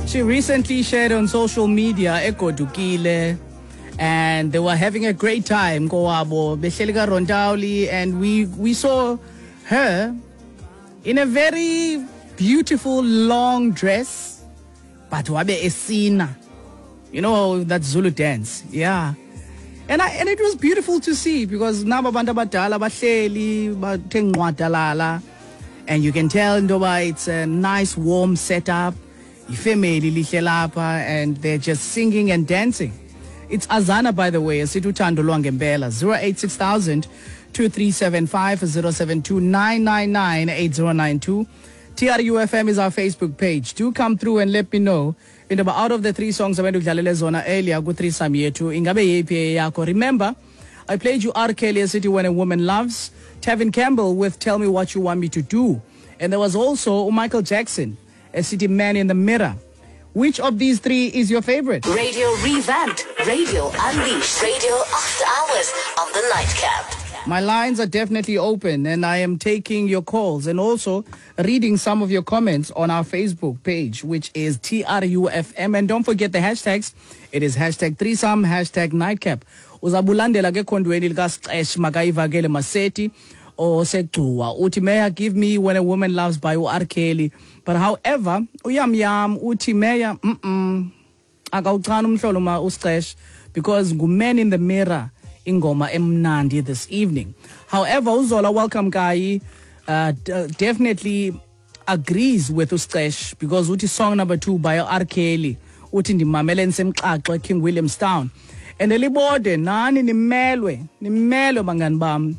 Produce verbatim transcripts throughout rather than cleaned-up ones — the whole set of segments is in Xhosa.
She recently shared on social media egodukile and they were having a great time kowabo behleli kaRontawuli, and we we saw her in a very beautiful long dress, but wabe esina, you know, that Zulu dance. Yeah. And I, and it was beautiful to see because naba abantu abadala bahleli bathe ngqwadalala, and you can tell ndoba it's a nice warm setup. Ifamily lihle lapha and they're just singing and dancing. It's Azana, by the way, esithi uthando lwangempela. Zero eight six thousand two three seven five zero seven two nine nine nine eight zero nine two. T R U F M is our Facebook page. Do come through and let me know. Into out of the three songs abendudlalele zona earlier ku threesome yethu, ingabe yeyiphi eyakho? Remember, I played you R. Kelly City When a Woman Loves, Tevin Campbell with Tell Me What You Want Me to Do, and there was also Michael Jackson, a City Man in the Mirror. Which of these three is your favorite? Radio Revamped, Radio Unleashed, Radio After Hours on the Nightcap. My lines are definitely open and I am taking your calls and also reading some of your comments on our Facebook page, which is T R U F M. And don't forget the hashtags. It is hashtag threesome, hashtag nightcap. Uzabulandela ke khondweni likaSixesh makayivakele Maseti osegcuwa. Uthi Meya, give me When a Woman Loves by U R Kelly. But however, uyam yam uthi Meya, mm-mm, akawuchana umhlolo ma uSixesh because nguMan in the Mirror ingoma emnandi this evening. However, Uzola Welcome Kai uh, d- definitely agrees with uSixesh because uthi song number two by R. Kelly uthi ndimamele nsemxaxo King Williamstown. And elibode nani nimelwe nimelwe bangani bam.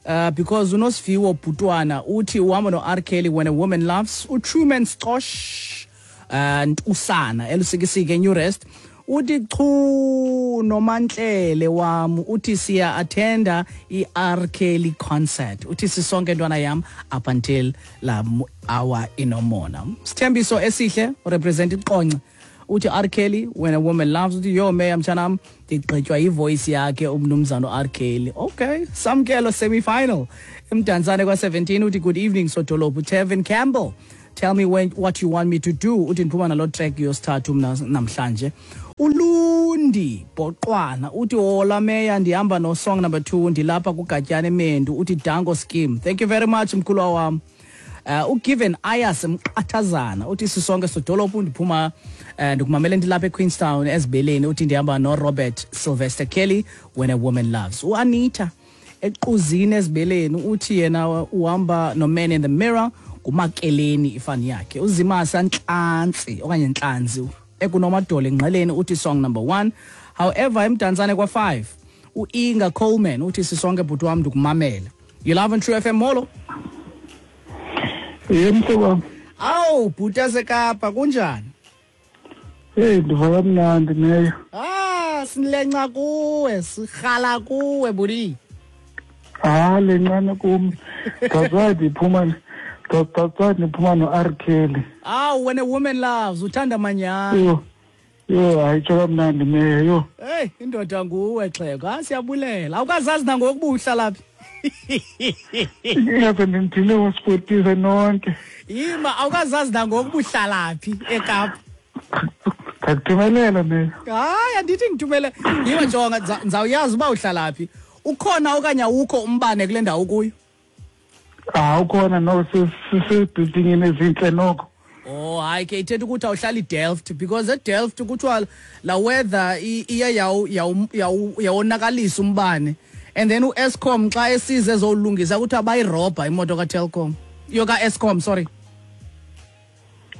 Uh, because uNosiviwo Bhutwana uthi uhamba no R. Kelly When a Woman Loves, uTruman Stosh uh, Ntusana elusikisike New Rest uthi chu nomantlele wam uthi siya attenda i-R. Kelly concert, uthi sisonke ntwana yam up until la hour inomona. Sithembiso esihle represent iqonce uthi R. Kelly When a Woman Loves, uthi yo meya mtshanam ndigqitywa yivoice yakhe umnumzana R. Kelly. Okay, samkelo semi-final emdantsane kwa seventeen uthi good evening sodolophu Tevin Campbell, Tell Me When What You Want Me to Do, uthi ndiphuma nalo track yosithathu mna namhlanje. Ulundi Boqwana uthi hola meya ndihamba no song number two ndilapha kuGatyana eMendu uthi Dango Scheme. Thank you very much mkhulwa wam. Uh, uGiven Ayas Mqathazana uthi sisonke sodolophu ndiphuma uh, ndikumamele ndilapha eQueenstown ezibeleni uthi ndihamba no Robert Sylvester Kelly When a Woman Loves. uAnita equzini ezibeleni uthi yena uhamba no Man in the Mirror kumakeleni ifani yakhe. Uzimasa Ntlantsi okanye Ntlantsi ekunomadolo engqeleni uthi song number one. However, emdantsane kwa five uInga Coleman uthi sisonke bhuti wam ndikumamele. You love and True F M, molo. Yemhlobo. Awu bhuti yaseKapa kunjani? Hey, ndiva kamnandi meya. Ah, silenca kuwe, sihala kuwe bhuti. Ah, lencane kum. That's why ndiphuma that's why ndiphuma no R. Kelly. Ah, When a Woman Loves, uthanda manyana. Yo. Yo, ayitsho kamnandi meya yo. Hey, indoda nguwe xhego. Ah, siyabulela. Awukazazi nangokuba uhlala phi? Ingabe ndimthile wasportise nonke. Yima awukazazi nangokuba uhlala phi eKapa. Ndakuthumelela meya. Hayi, andithi ngithumele. Yima jonga ndizawuyazi uba uhlala phi. Ukhona okanye awukho umbane kule ndawo kuyo? Ah, ukhona no sisebhilidingini ezintle noko. Oh, hayi ke ithetha ukuthi awuhlali eDelft because eDelft kuthiwa la weather iye yawu yawonakalisa umbane. And then uEskom xa esize ezolungisa kuthiwa bayirobha imoto kaTelkom. Iyo kaEskom, sorry.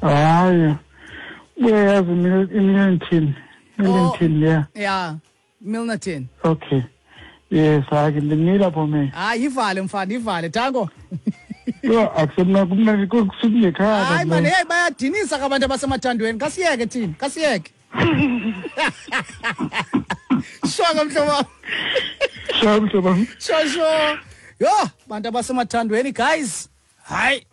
Hayi. Uyayazi iMilnerton. Milnerton, yeah. Yeah, Milnerton. Okay. Yes, hayi ndimile apho me. Hayi ivale mfana, ivale. Tango. Yo, akusemna kumnandi kusukungekhaya. Hayi man, hey bayadinisa ke abantu abasemathandweni. Kasiyeke thina, kasiyeke. Shonga mhlobo. Shonga mhlobo. Sho sho. Yo, bantu abasemathandweni guys. Hayi.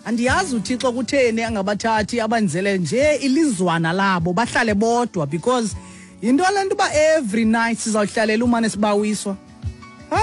Andiyazi uThixo kutheni angabathathi abanzele nje ilizwana labo bahlale bodwa because yinto le nto uba every night sizawuhlalela umane sibawiswa.